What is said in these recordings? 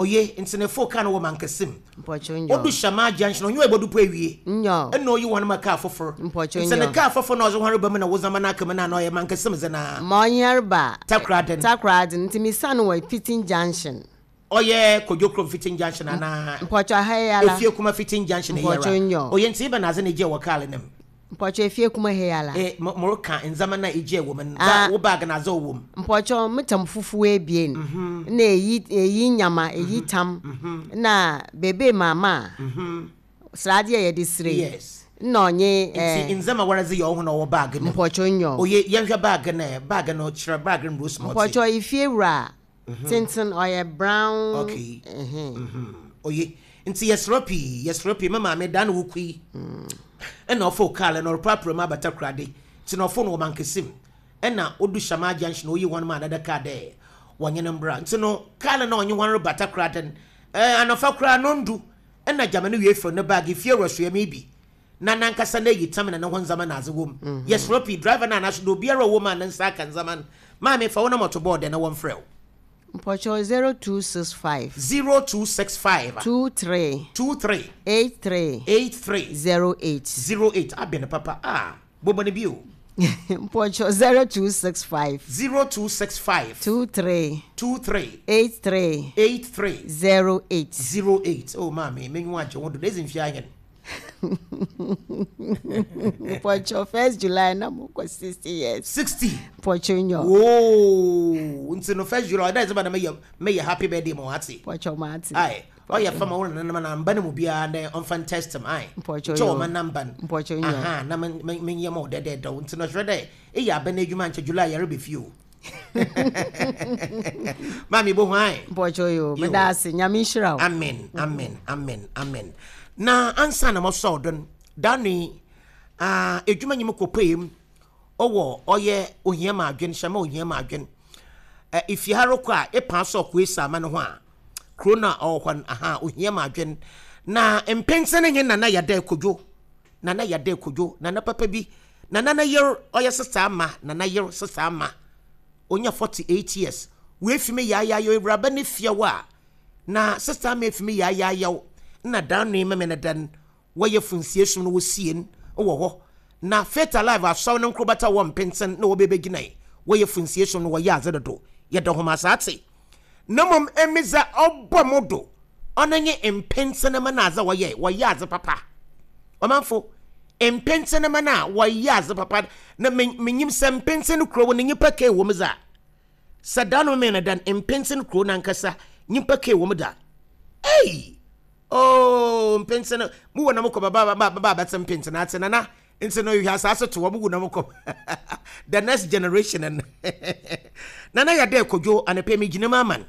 Oye, ntsi no efoow kaar no wɔ Mankasim. Mpɔkyɛw nyɔ. Odu Shamaa junction, ɔnye wo ebodu po ewie. Nyɔ. Nna oyi hɔn ma kaar fofor. Mpɔkyɛw Ntsi no nyɔ. kaar fofor na ɔdze hɔn reba mu na wo ndzɛmba no aka mu no ana ɔyɛ Mankasim dze no ara? Ma ɔnye reba. Takoradi no. Takoradi no, ntsi misian wɔ Fitting Junction. Ɔyɛ Kojo Krom Fitting Junction anaa? Mpɔkyɛw ha yi ara. Efiekuma Fitting Junction yi ara. Mpɔkyɛw nyɔ. Oye, ntsi ebɛnadze na egyae wɔ kaar no mu? Mpɔkyɛw efie kuma ha yi ara. Eh, mo moreka ndzɛmba no a egyae wɔ mu no, dza wo bag na adze a ɔwɔ mu. Mpɔkyɛw, me tam fufuw ebien, na eyi eyi nyama, eyi tam, na bebe maama a, sradeɛ a yɛde sire yi, Yes. nna ɔnye eh. Ntsi ndzɛmba woara dze yɛ woho na ɔwɔ bag no mu. Mpɔkyɛw nyew. Oye, yɛnhwɛ bag no ɛ, bag no, kyerɛ bag no mbrɛ osi ma ɔtse. Mpɔkyɛw, efie wura tenten, ɔyɛ brown. Okay. Oye. Nti yɛserɛ pii, yɛserɛ pii. Me maame da na wokui. Ɛna ɔfo kaa lɛ na ɔreprapra mu abata kurade. Nti na ɔfo no wɔ Mankesim. Ɛna odu Shamaa Junction oyi hɔn ma another car dɛ wɔnye no mbra. Nti no kaa no na ɔnye hɔn reba Takoradi no, eh, anɔfa koraa nondu. Ɛna gyama no wie fir ne bag, efie wura soɛ me bi. Na nankasa n'eyi tam na no ho ndzɛmba na adze wɔ mu. Yɛserɛ pii, driver no anaaso dɛ obiara a ɔwɔ mu a ne nsa aka ndzɛmba no, maame fa wo na mɔto bɔɔl dɛ na wɔmfrɛ wo. Mpɔkyɛw 0265. 0265. 23. 23. 83. 83. 08. 08 abɛn papa ah bɔbɔ no bio. Mpɔkyɛw 0265. 0265. 23. 23. 83. 83. 08. 08 oh maame menyiwa agye ho do na edzi mfe ahen. Mpɔkyɛw first July na mo kɔ 60 years. 60. Mpɔkyɛw nyɔ. Woo nti no first July ɔdɛ ɛdze ba na meyɛ meyɛ happy birthday ma wate. Mpɔkyɛw ma ate. Aye ɔyɛ fam ɔwɔ nananom na mba no mu biara dɛ ɔmfa ntest m aye. Mpɔkyɛw nyɔ. Nkyɛ ɔma namba no. Mpɔkyɛw nyɔ. Aha na me me nyɛ ma ɔdɛdɛɛdɛw nti no hwɛ dɛ eyɛ abɛn adwuma nkyɛ July yɛrebɛ fie o. Maame bohu ae. Mpɔkyɛ yo, meda ase. Nyame nhyira wo. Amen, amen, amen, amen. Na ansa na mɔsɔw do no, da no yi, ah, edwuma nyim kɔpuei mu. Ɔwɔ ɔyɛ ohia ma adwen, hyɛ ma ohia ma adwen. Eh, ifi ha rokɔ a, epaa sɛ ɔkɔ esi ama no ho a, kuro no a ɔwɔ hɔ no, aha, ohia ma adwen. Na mpentsen nye Nana Yada Kodwo. Nana Yada Kodwo, Nana papa bi. Nana ne yer ɔyɛ sesa ama Nana yer sesa ama onya 48 years oefi me yaayayaw ewuraba ne fiew a na sesa ama efi me yaayayaw nna dan no ememe ne dan wɔyɛ funsie som no wosie n wɔ hɔ na Faith Alive asɔr no nkorbata wɔ mpentsen na wɔbɛbɛgyinae wɔyɛ funsie som no wɔyɛ adze dodo yɛda hom ase atse na mbom emi dza ɔbɔ mo do ɔno nye mpentsenema no adze a wɔyɛe wɔyɛ adze papa ɔmanfo mpentsenema no a wɔyɛ adze papa na menyim sɛ mpentsen kurow no nyimpa kee wɔ mu dza sɛ da no mee no dan mpentsen kurow no ankasa nyimpa kee wɔ mu da ei oh mpentsen mu wɔ na mokɔ baba baba baba bɛtse mpentsen atse nana Nti no hwɛ asaase to wɔn gu na wɔkɔ the next generation no nana yɛ dɛ kodwo anapɛ mi gyina mu aman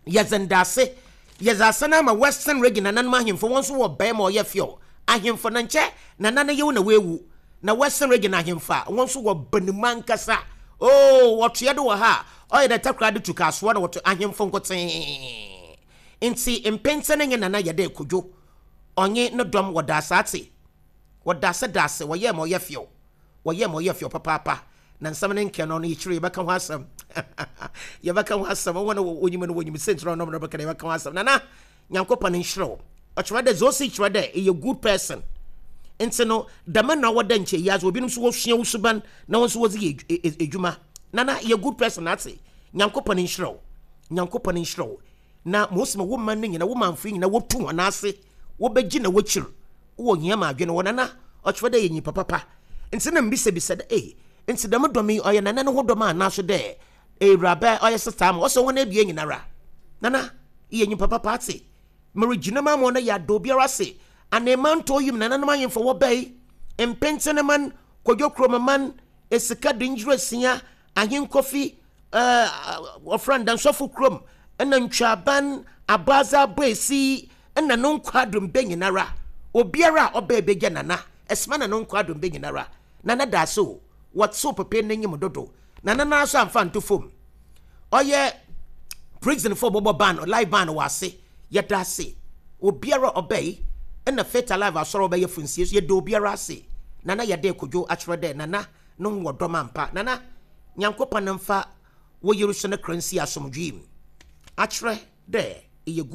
yɛdze ndaase yɛdze asan ama western region nananom ahemfo wɔn nso wɔ bɛn ma ɔyɛ fɛw ahemfo na nkyɛ nana no yew na wewu na western region ahemfo a wɔn nso wɔ banimu ankasa oo wɔtoɛ do wɔ ha a ɔyɛ dɛ takora de tu kaasoɔ na wɔto ahemfo nkotee nti mpɛnsɛ no nye nana yɛ dɛ kodwo ɔnye ne dɔm wɔ daase Wɔda ase da ase, wɔyɛɛ ma ɔyɛ fɛw. Wɔyɛɛ ma ɔyɛ fɛw papaapa. Na nsɛm no nkɛn no, ɔno yɛkyerɛ yɛbɛka ho asɛm. Yɛbɛka ho asɛm. Wɔn a wɔnyim no wɔnyim sɛ ntina ɔnom no bɛka yɛbɛka ho asɛm. Nana, Nyankopɔn nhyira wo. Ɔkyerɛ dɛ dza osi kyerɛ dɛ eyɛ good person. Ntsi no, dɛm na ɔwɔ dɛ nkyɛ yi adze obinom so wɔsua wo suban na wɔn nso wɔdze yɛ edwuma. Nana, eyɛ good person atse. Nyankopɔn nhyira wo. Nyankopɔn nhyira wo. Na ma osi ma wo man no nyina, wo manfo nyina wotu hɔn ase, wɔbɛgyina w'ekyir. Wowɔ hia ma adwen wɔ Nana, ɔkyerɛ dɛ eyɛ nyimpa papa. Ntsi nna mibisabisa dɛ, Ei, ntsi dɛm dɔm yi ɔyɛ Nana no ho dɔm anaa so dɛ Ewuraba ɔyɛ sestaa ama? Ɔse hɔn ebien nyinara. Nana, eyɛ nyimpa papa atse. Merigyina mu ama wo na yɛada obiara ase. Aneemantɔw yi mu nananom ahemfo wɔbae, Mpentseneman, Kwadwo Kuromaman, Esika Denkyirasia, Ahenkofi, eh, wɔfrɛ no Dansɔfo kurom, ɛna Ntwaban, Abɔadze Aboesi, ɛna no nkwaadom bɛ nyinara. Obiara a ɔbɛɛ bɛgya Nana, ɛsoma na no nkwaadom bɛ nyinara. Nana daase o, wɔtsew pepe n'enyim dodo. Nana noara so amfa anto famu. Ɔyɛ prison fo bɔbɔ ban, live ban wɔ ase. Yɛda ase. Obiara a ɔbɛe, ɛna Faith Alive Asɔr a ɔbɛyɛ funsie so, yɛda obiara ase. Nana Yɛdɛ Kodwo akyerɛ dɛ Nana no ho wɔ dɔm ampa. Nana, Nyankopɔn mfa wo yer so ne kra nsi asomdwee mu. Akyerɛ dɛ. Eyɛ good.